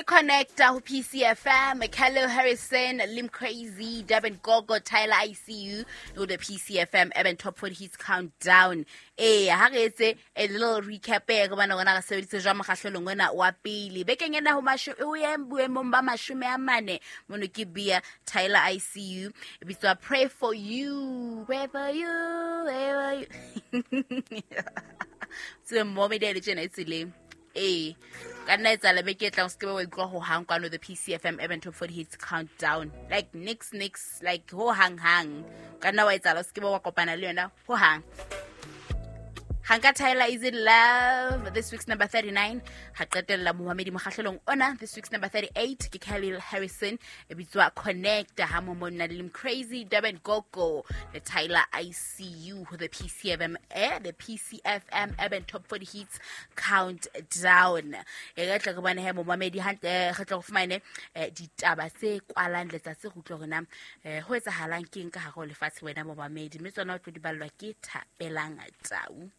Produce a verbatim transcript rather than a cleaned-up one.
Ke Connecta ho P C F M, Calil Harrison, Lim Crazy, Durban Gogo, Tyler I C U ho the P C F M Urban Top forty Hits Countdown. Eh, ha re etse a little recap e re bana rona re sebeditse jwang mokgahlelong ona wa pele. Bekeng ena ho masho o ye boemong ba mashome a mane mono ke Bia, Tyler I C U, e bitswa Pray for You, Pray for You, Pray for You. Se mo media le tjena e tseleng. Ee, ka nna etsahala beke e tlang o se ke be wa utlwa ho hang kwano the P C F M Urban Top forty Hits Countdown, like nix nix, like ho hang hang. Ka nna wa etsahala o se ke be wa kopana le yona ho hang. Hanka Tyler, Is It Love, this week's number thirty-nine. Ha qetella momamedi mokgahlelong ona, this week's number thirty-eight ke Khalil Harrison, e bitswa Connect, ha mo monna le Lim Crazy, Durban Gogo le Tyler I C U ho the P C F M, eh, the P C F M Urban Top forty Hits Countdown. E re tle re bone he momamedi hantle, re tle re fumane eh, ditaba tse kwalang letsatsi, re utlwe hore na eh, ho etsahalang keng ka hare ho lefatshe, wena momamedi, mme tsona o tlo di ballwa ke Thapelang Tau.